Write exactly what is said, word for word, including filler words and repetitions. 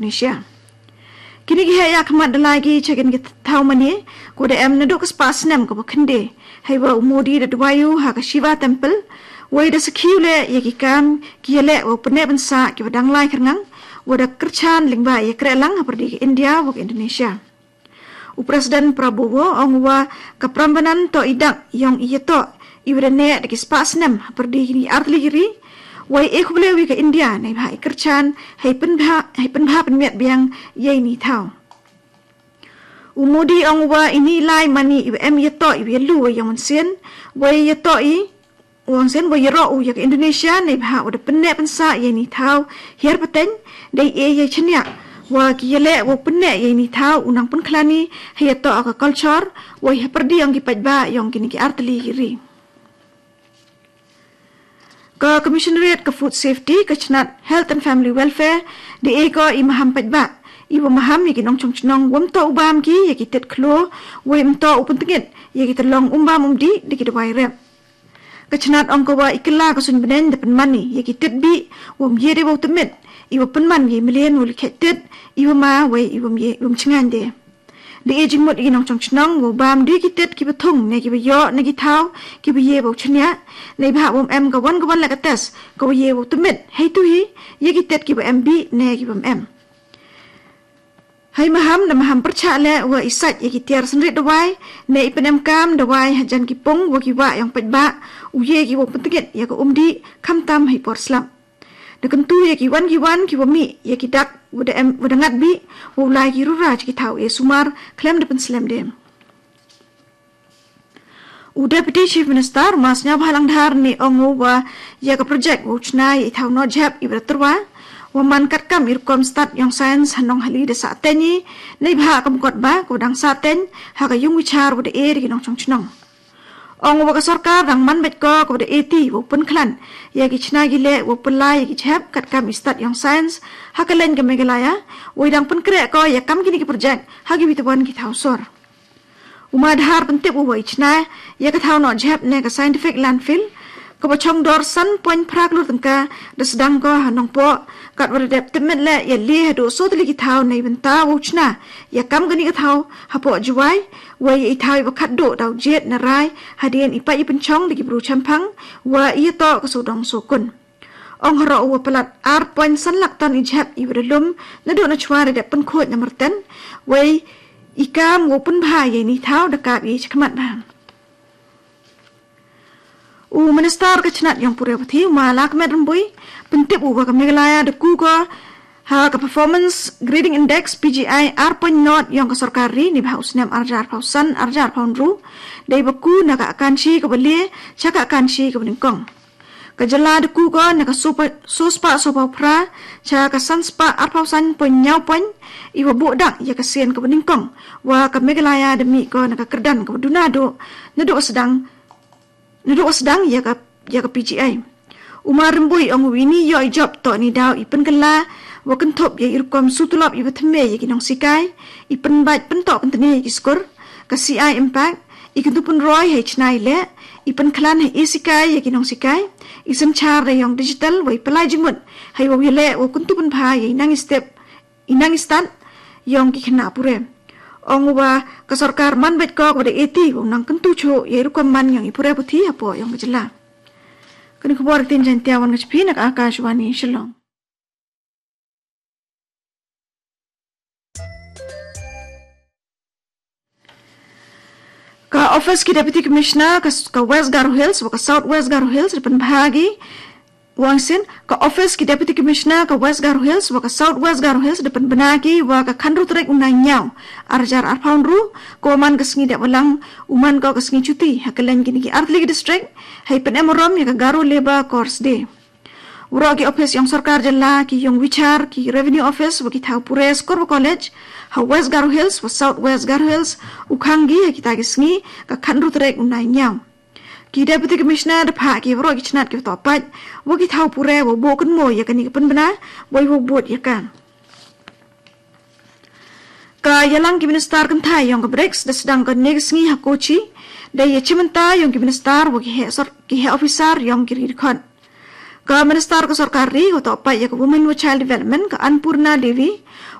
Indonesia. Kine ki heh ïakhmat da lai ki cha kine ki thaw mane, ko da em naduh ka spah snem kaba khyndai, hei ba u Modi da duwai u ha ka Shiva Temple, wei da sakhi u leh ïa ki kam ki ïaleh wow pynneh pynsah kiba dang lai khyrngang, wa da kyrchan lyngba ïa krehlang hapyrdi ka India wa ka Indonesia. U President Prabowo ong wa ka Prambanan toh i dak yong i ïatoh iwa da neh da ki spah snem hapyrdi kine ki artylli ki ri, wei e khublei wi ka India neibhah i kyrchan hei pynbha, hei pynbha pynmiat biang ïa ini i thaw. U Modi ong wa ini i lai mane iwa em ïatoh iwa ïalu wa yong mynsiem, wei ïatoh i, u ong sien wa ïaroh u ïa ka Indonesia neibhah wa da pynneh pynsah ïa ini i thaw hiar pateng, dei e ïa chaniah wa ki ïaleh wow pynneh ïa ini i thaw u nang pynkhlaiñ i hei ïatoh ka culture wei hapyrdi yong ki paidbah yong kine ki artylli ki ri. Ka Commissionerate ka Food Safety, ka chnat Health and Family Welfare, da e ko i maham paidbah iwa maham ïa ki nongchong chnong wym toh u bam ki ïa ki tit khloo, wei ym toh u pyntngit ïa ki tyllong um bam um dih da ki dawai rep. Ka chnat ong ko wa i kylla ka suiñ bneng da pynman i ïa ki tit bih wym ye de wow tymit, iwa pynman ïa i mlien wow lykhait tit, iwa ma wei iwym ye, iwym chngaiñ de. Da e jingmut ïa ki nongchong chnong wow bam de ki tit kiba thung ne kiba ïoh na ki thaw kiba ye wow chaniah, neibhah wym em ka wan ka wan leh ka test kawa ye wow tymit heitei hi ïa ki tit kiba em bih ne kiba ym em. Hei maham da maham pyrchah leh wa i sait ïa ki tiar synrit dawai ne i pynemkam dawai hajan ki pung wa ki wah yong paidbah, u ye ki wow pyntngit ïa ka um dih khamtam hei por slap. Da kyntu ïa ki wan ki wan kiwa mih ïa ki dak wa da em, wa da ngat bih, wow lai ki rura cha ki thaw e sumar khlem da pynslem de. U Deputy Chief Minister u Ma Sniawbhalang Dhar ne ong u wa ïa ka project wow chna ïa i thaw noh jhep iwa da tyrwa, wa man katkam i rukom stad yong science ha Nonghali da sah teng i, neibhah ka mukotba kawa dang sah teng ha ka yung bichar wa da e da ki nongchong chnong. Ong u wa ka sorkar dang man beit ko kawa da e ti wow pynkhlaiñ ïa ki chna ki leh wow pynlai ïa ki jhep katkam i stad yong science ha kylleiñ ka Meghalaya, wei dang pynkreh ko ïa kam kine ki project ha kiwi kiwon ki thaw sor. U Ma Dhar pyntip u wa i chna ïa ka thaw noh jhep ne ka scientific landfill, kawa chong dor san point phra klur tyngka, da sdang ko ha Nongpoh, katwa da dep tymmen leh ïa le haduh soo tylli ki thaw neibynta wow chna ïa kam kane ka thaw hapoh Jowai, wei ïa i thaw iwa khatduh da u jied na rai hadien i pait i pynchong da ki bru chemphang wa i ïatoh ka sawdong sawkun. Ong haroh u wa palat ar point san lak ton i jhep iwa da lum naduh nachwa da dep pynkhuid na Myrten, wei i kam wow pynbha ïa ini i thaw da kap i chakhmat bha. U Minister ka chnat yong pule puthi u Ma Lahkmen Rymbui pyntip u wa ka Meghalaya da ku ko ha ka Performance Grading Index, P G I, ar point nought yong ka sorkar ri neibhah u snem ar hajar arphaw san ar hajar arphaw hynriew, dei ba ku na ka akanshi kawa le cha ka akanshi kawa nyngkong. Ka jylla da ku ko na ka soo pa-, soo spah soo phaw phra cha ka san spah arphaw san point hynñiew point, iwa buh dak ïa ka sien kawa nyngkong, wa ka Meghalaya da mih ko na ka kyrdan kawa duna duh naduh wa sdang, naduh wa sdang ïa ka, ïa ka P G I. U Ma Rymbui ong u ini i ïoh i jop toh ini i daw i pynkylla wa kynthup ïa i rukom shu tulop iwa thymme ïa ki nongsikai, i pynbeit pyntoh pyntne ïa ki skur, ka C I Impact, i kyntu pynroi hei chna i leh, i pynkhlaiñ hei e sikai ïa ki nongsikai, i synshar da yong digital, wei pynlai jingmut hei wow ïaleh wow kyntu pynbha ïa i nang i step, i nang i stad yong ki khynnah pule. Ong u wa ka sorkar man beit ko kawa da e ti wow nang kyntu chuh ïa i rukom man yong i pule puthi hapoh yong ka jylla. Kane ka khubor ktien Jaiñtia wan ka cha phi na ka Akashvani Shillong. Ka Office ki Deputy Commissioner ka, ka West Garo Hills wa ka South West Garo Hills da pynbha ki, u ong sien, ka Office ki Deputy Commissioner ka West Garo Hills wa ka South West Garo Hills da pynbna ki wa ka khatynriew tarik u Naiïaw ar hajar arphaw hynriew, kawa man ka sngi dep wa lang, u man ko ka sngi chuti ha kylleiñ kine ki artylli ki district, hei pynemrom ïa ka Garo Labour Corps Day. Waroh ki office yong sorkar jylla, ki yung bichar, ki Revenue Office wa ki thaw pule, skur wa college ha West Garo Hills wa South West Garo Hills, u khang ki ha kita ki sngi ka khatynriew tarik u Naiïaw. Ki Deputy Commissioner da phah ki waroh ki chnat kiwa toh pait wa ki thaw pule wow buh kynmaw ïa kane ka pynbna, wei wow bud ïa ka. Ka ïalang ki Minister kynthai yong ka BRICS da sdang kane ka sngi ha Kochi, da ïa chimbynta yong ki Minister wa ki heh sor-, ki heh officer yong ki ri dkhot. Ka Minister ka Sorkar Ri kaba ïatoh peit ïa ka Women and Child Development, ka Annpurna Devi,